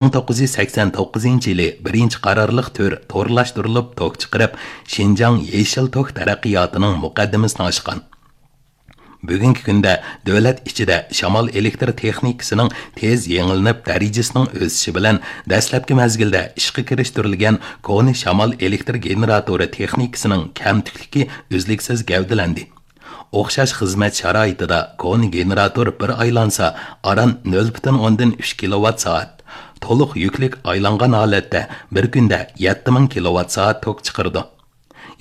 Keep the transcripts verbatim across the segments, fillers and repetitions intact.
مىڭ توققۇز يۈز سەكسەن توققۇزىنچى يىلى بىرىنچى قارارلىق تۈر تورلاشتۇرۇلۇپ توك چىقىرىپ، شىنجاڭ يېشىل توك تەرەققىياتىنىڭ مۇقەددىمىسىنى ئاچقان. بۈگۈنكى كۈندە دۆلەت ئىچىدە شامال ئېلېكتر تېخنىكىسىنىڭ تېز يېڭىلىنىپ، دەرىجىسىنىڭ ئۆسۈشى بىلەن دەسلەپكى مەزگىلدە ئىشقا كىرىشتۈرۈلگەن كونا شامال ئېلېكتر گېنېراتورى تېخنىكىسىنىڭ كەمتۈكلۈكى ئۈزلۈكسىز گەۋدىلەندى. ئوخشاش خىزمەت شارائىتىدا كونا گېنېراتور بىر ئايلانسا، ئاران نۆل پۈتۈن ئوندىن ئۈچ كىلوۋات سائەت، تولۇق يۈكلۈك ئايلانغان ھالەتتە بىر كۈندە يەتتە مىڭ كىلوۋات سائەت توك چىقىرىدۇ.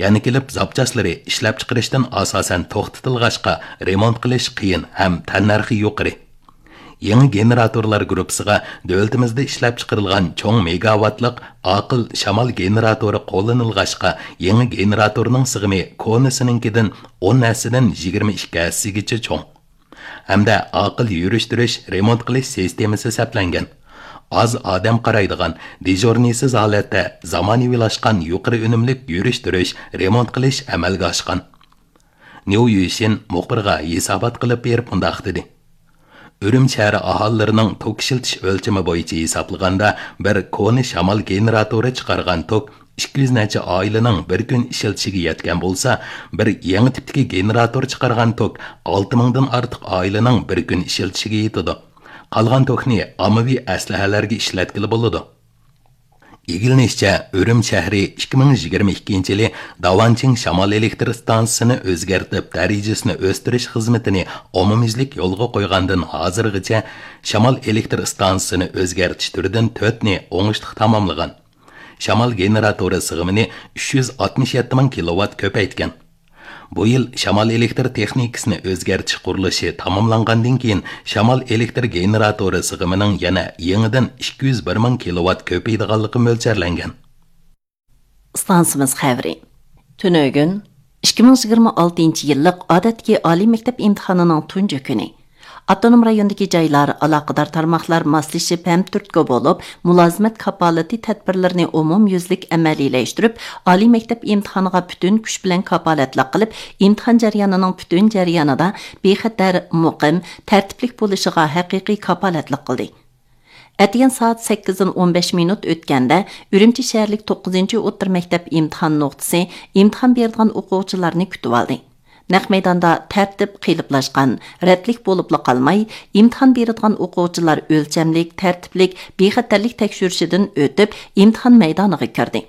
يەنە كېلىپ زاپچاسلىرى ئىشلەپچىقىرىشتىن ئاساسەن توختىتىلغاچقا، رېمونت قىلىش قىيىن ھەم تەننەرخى يۇقىرى. يېڭى گېنېراتورلار گۇرۇپپىسىغا دۆلىتىمىزدە ئىشلەپچىقىرىلغان چوڭ مېگاۋاتلىق ئاقىل شامال گېنېراتورى قوللىنىلغاچقا، يېڭى گېنېراتورنىڭ سىغىمى كونىسىنىڭكىدىن ئون ھەسسىدىن يىگىرمە ئىككى ھەسسىگىچە چوڭ. ھەمدە ئاقىل يۈرۈشتۈرۈش، رېمونت قىلىش سىستېمىسى سەپلەنگەن. ئاز ئادەم قارايدىغان، دېژورنىيسىز ھالەتتە زامانىۋىلاشقان يۇقىرى ئۈنۈملۈك يۈرۈشتۈرۈش، رېمونت قىلىش ئەمەلگە ئاشقان. نيۇ يۈشىن مۇخبىرغا ھېسابات قىلىپ بېرىپ مۇنداق دېدى: ئۈرۈمچى شەھىرى ئاھالىلىرىنىڭ توك ئىشلىتىش ئۆلچىمى بويىچە ھېسابلىغاندا، بىر كونا شامال گېنېراتورى چىقارغان توك ئىككى يۈز نەچچە ئائىلىنىڭ بىر كۈن ئىشلىتىشىگە يەتكەن بولسا، بىر يېڭى تىپتىكى گېنېراتور چىقارغان توك ئالتە مىڭدىن ئارتۇق ئائىلىنىڭ بىر كۈن ئىشلىتىشىگە يېتىدۇ. قالغان توكنى ئاممىۋى ئەسلىھەلەرگە ئىشلەتكىلى بولىدۇ. ئىگىلىنىشىچە، ئۈرۈمچى شەھىرى ئىككى مىڭ يىگىرمە ئىككىنچى يىلى داۋانچىڭ شامال ئېلېكتر ئىستانسىسىنى ئۆزگەرتىپ، دەرىجىسىنى ئۆستۈرۈش خىزمىتىنى ئومۇميۈزلۈك يولغا قويغاندىن ھازىرغىچە شامال ئېلېكتر ئىستانسىسىنى ئۆزگەرتىش تۈرىدىن تۆتنى ئوڭۇشلۇق تاماملىغان. شامال گېنېراتورى سىغىمىنى ئۈچ يۈز ئاتمىش يەتتە مىڭ كىلوۋات كۆپەيتكەن. بۇ يىل شامال ئېلېكتر تېخنىكىسىنى ئۆزگەرتىش قۇرۇلۇشى تاماملانغاندىن كېيىن، شامال ئېلېكتر گېنېراتورى سىغىمىنىڭ يەنە يېڭىدىن ئىككى يۈز بىر مىڭ كىلوۋات كۆپىيىدىغانلىقى مۆلچەرلەنگەن. ئىستانسىمىز خەۋىرى. تۈنۈگۈن ئىككى مىڭ يىگىرمە ئالتىنچى يىللىق ئادەتتىكى ئالىي مەكتەپ ئىمتىھانىنىڭ تۇنجى كۈنى. ئاپتونوم رايوندىكى جايلار، ئالاقىدار تارماقلار ماسلىشىپ ھەم تۈرتكە بولۇپ، مۇلازىمەت كاپالىتى تەدبىرلىرىنى ئومۇميۈزلۈك ئەمەلىيلەشتۈرۈپ، ئالىي مەكتەپ ئىمتىھانىغا پۈتۈن كۈچ بىلەن كاپالەتلىك قىلىپ، ئىمتىھان جەريانىنىڭ پۈتۈن جەريانىدا بىخەتەر، مۇقىم، تەرتىپلىك بولۇشىغا ھەقىقىي كاپالەتلىك قىلدى. ئەتىگەن سائەت سەككىزدىن ئون بەش مىنۇت ئۆتكەندە، ئۈرۈمچى شەھەرلىك توققۇزىنچى ئوتتۇرا مەكتەپ ئىمتىھان نۇقتىسى ئىمتىھان بېرىدىغان ئوقۇغۇچىلارنى كۈتۈۋالدى. نەق مەيداندا تەرتىپ قېلىپلاشقان، رەتلىك بولۇپلا قالماي، ئىمتىھان بېرىدىغان ئوقۇغۇچىلار ئۆلچەملىك، تەرتىپلىك، بىخەتەرلىك تەكشۈرۈشىدىن ئۆتۈپ، ئىمتىھان مەيدانىغا كىردى.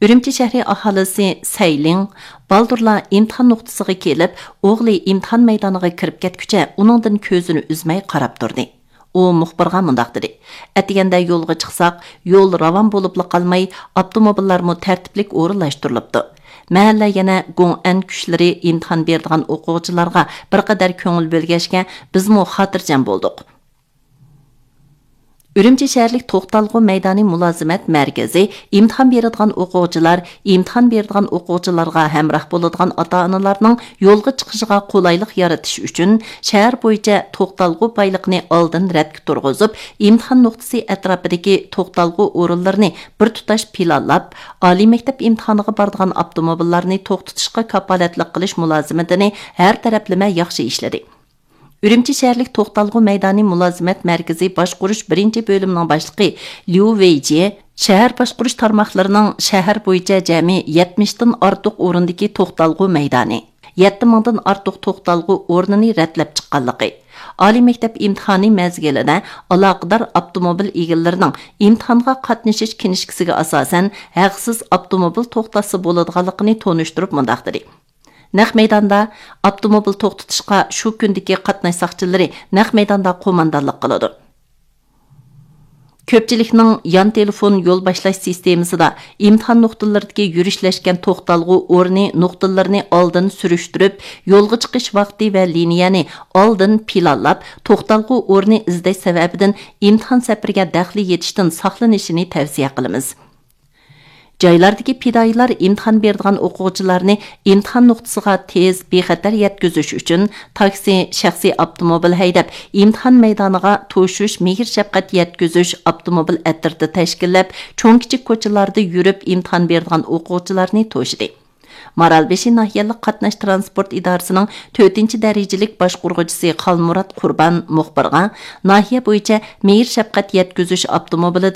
ئۈرۈمچى شەھىرى ئاھالىسى سەيلىڭ بالدۇرلا ئىمتىھان نۇقتىسىغا كېلىپ، ئوغلى ئىمتىھان مەيدانىغا كىرىپ كەتكۈچە ئۇنىڭدىن كۆزىنى ئۈزمەي قاراپ تۇردى. ئۇ مۇخبىرغا مۇنداق دېدى: ئەتىگەندە يولغا چىقساق، يول راۋان بولۇپلا قالماي، ئاپتوموبىللارمۇ تەرتىپلىك ئورۇنلاشتۇرۇلۇپتۇ. مەھەللە يەنە گوڭئەن كۈچلىرى ئىمتىھان بېرىدىغان ئوقۇغۇچىلارغا بىر قەدەر كۆڭۈل بۆلگەچكە، بىزمۇ خاتىرجەم بولدۇق. ئۈرۈمچى شەھەرلىك توختالغۇ مەيدانى مۇلازىمەت مەركىزى ئىمتىھان بېرىدىغان ئوقۇغۇچىلار، ئىمتىھان بېرىدىغان ئوقۇغۇچىلارغا ھەمراھ بولىدىغان ئاتا-ئانىلارنىڭ يولغا چىقىشىغا قولايلىق يارىتىش ئۈچۈن، شەھەر بويىچە توختالغۇ بايلىقىنى ئالدىن رەتكە تۇرغۇزۇپ، ئىمتىھان نۇقتىسى ئەتراپىدىكى توختالغۇ ئورۇنلىرىنى بىر تۇتاش پىلانلاپ، ئالىي مەكتەپ ئىمتىھانىغا بارىدىغان ئاپتوموبىللارنى توختىتىشقا كاپالەتلىك قىلىش مۇلازىمىتىنى ھەر تەرەپلىمە ياخشى ئىشلىدى. ئۈرۈمچى شەھەرلىك توختالغۇ مەيدانى مۇلازىمەت مەركىزى باشقۇرۇش بىرىنچى بۆلۈمىنىڭ باشلىقى ليۇ ۋېيجيې شەھەر باشقۇرۇش تارماقلىرىنىڭ شەھەر بويىچە جەمئىي يەتمىشتىن ئارتۇق ئورۇندىكى توختالغۇ مەيدانى، يەتتە مىڭدىن ئارتۇق توختالغۇ ئورنىنى رەتلەپ چىققانلىقى، ئالىي مەكتەپ ئىمتىھانى مەزگىلىدە ئالاقىدار ئاپتوموبىل ئىگىلىرىنىڭ ئىمتىھانغا قاتنىشىش كىنىشكىسىگە ئاساسەن ھەقسىز ئاپتوموبىل توختاتسا بولىدىغانلىقىنى تونۇشتۇرۇپ مۇنداق دېدى: نەق مەيداندا ئاپتوموبىل توختىتىشقا شۇ كۈندىكى قاتناش ساقچىلىرى نەق مەيداندا قوماندانلىق قىلىدۇ. كۆپچىلىكنىڭ يان تېلېفون يول باشلاش سىستېمىسىدا ئىمتىھان نۇقتىلىرىدىكى يۈرۈشلەشكەن توختالغۇ ئورنى نۇقتىلىرىنى ئالدىن سۈرۈشتۈرۈپ، يولغا چىقىش ۋاقتى ۋە لىنىيەنى ئالدىن پىلانلاپ، توختالغۇ ئورنى ئىزدەش سەۋەبىدىن ئىمتىھان سەپىرىگە دەخلى يېتىشتىن ساقلىنىشىنى تەۋسىيە قىلىمىز. جايلاردىكى پىدائىيلار ئىمتىھان بېرىدىغان ئوقۇغۇچىلارنى ئىمتىھان نۇقتىسىغا تېز، بىخەتەر يەتكۈزۈش ئۈچۈن تاكسى، شەخسىي ئاپتوموبىل ھەيدەپ، ئىمتىھان مەيدانىغا توشۇش، مېھىر-شەپقەت يەتكۈزۈش ئاپتوموبىل ئەترىتى تەشكىللەپ، چوڭ-كىچىك كوچىلاردا يۈرۈپ ئىمتىھان بېرىدىغان ئوقۇغۇچىلارنى توشىدى. مارالبېشى ناھىيەلىك قاتناش تىرانسپورت ئىدارىسىنىڭ تۆتىنچى دەرىجىلىك باشقۇرغۇچىسى خالمۇرات قۇربان مۇخبىرغا ناھىيە بويىچە مېھىر شەپقەت يەتكۈزۈش ئاپتوموبىلى